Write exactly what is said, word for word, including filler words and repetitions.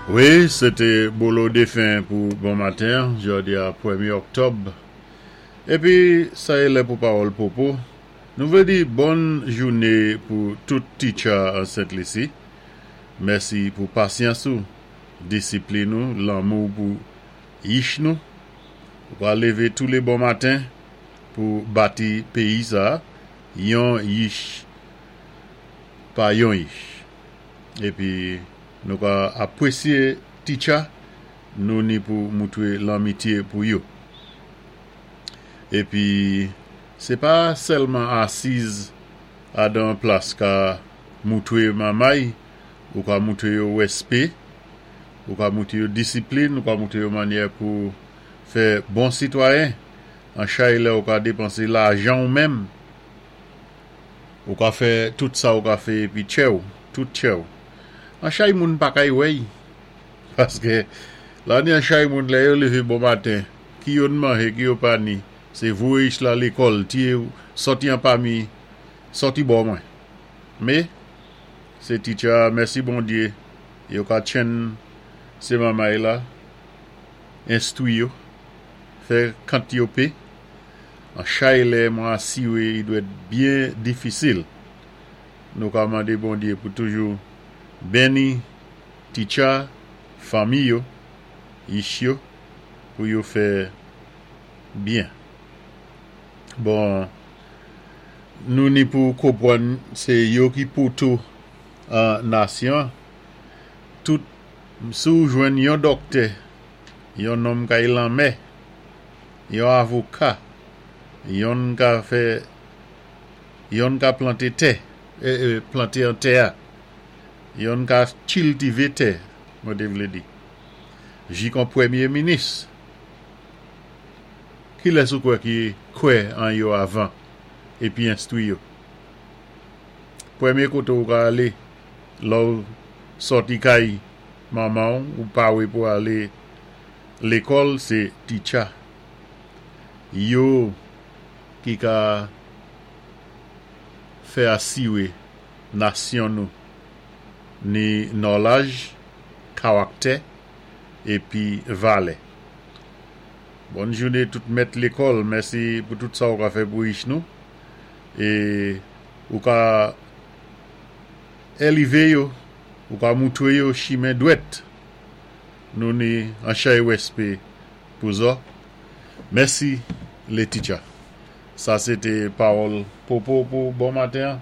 Wi, sé té Bolo Défen pou bon maten, jòdi a pwémyé òktòb. Épi, sa é lè pou pawòl Popo. Nou vlé di bòn jouné pou tout teacher an Sent Lisi. Mèsi pou pasyans ou, disiplin nou, lanmou pou yich nou. Ou ka lévé tou lé bon maten pou bati péyi sa, yon yich pa yon yich. Épi, nou ka apwésyé teacher, nou ni pou moutwé lanmityé pou yo. Épi, sé pa sèlman asiz adan plas ka moutwé manmay, ou ka moutwé yo wèspé, ou ka moutwé yo disiplin, ou ka moutwé yo mannyè pou fè bon sitwayen. An chay lè ou ka dépansé lajan ou menm, ou ka fè tout sa ou ka fè épi tchèw, tout tchèw. An chay moun pa kay wèy, paské la ni an chay moun lè yo lévé bon maten, ki yo manje, ki yo pa ni, sé voyé yich la lékòl, tié sòti an pami, sòti bò mwen. Mé, sé teacher, mèsi Bondyé, yo ka tchenn sé manmay la, enstwi yo, fè kant yo pé, an chay lè mwen asiwé, i dwèt byen difisil. Nou ka mandé Bondyé pou toujou béni teacher, fanmi yo, yich yo, pou yo fè byen. Bon, nou ni pou konpwann sé yo ki poto an nasyon, tout si ou jwenn yon dòktè, yon nonm kay lanmè, yon avoka, yon ka fè, yon ka planté tè, eh, eh, planté an tè, yon ka kiltivé tè, mwen té vlé di. Jik an pwémyé minis. Kilès ou kwè ki kwè an yo avan épi enstwi yo. Pwémyé koté ou ka alé, lè ou sòti kay manman ou pawé pou alé lékòl, sé teacher. Yo ki ka fè asiwé nasyon nou ni nòlaj, kawaktè épi valè. Bòn jouné tout mèt lékòl, mèsi pou tout sa ou ka fè pou yich nou. É ou ka élevé yo, ou ka moutwé yo chimen dwèt. Nou ni an chay wèspé pou zò. Mèsi lé teacher. Sa sé té pawòl Popo pou bon maten.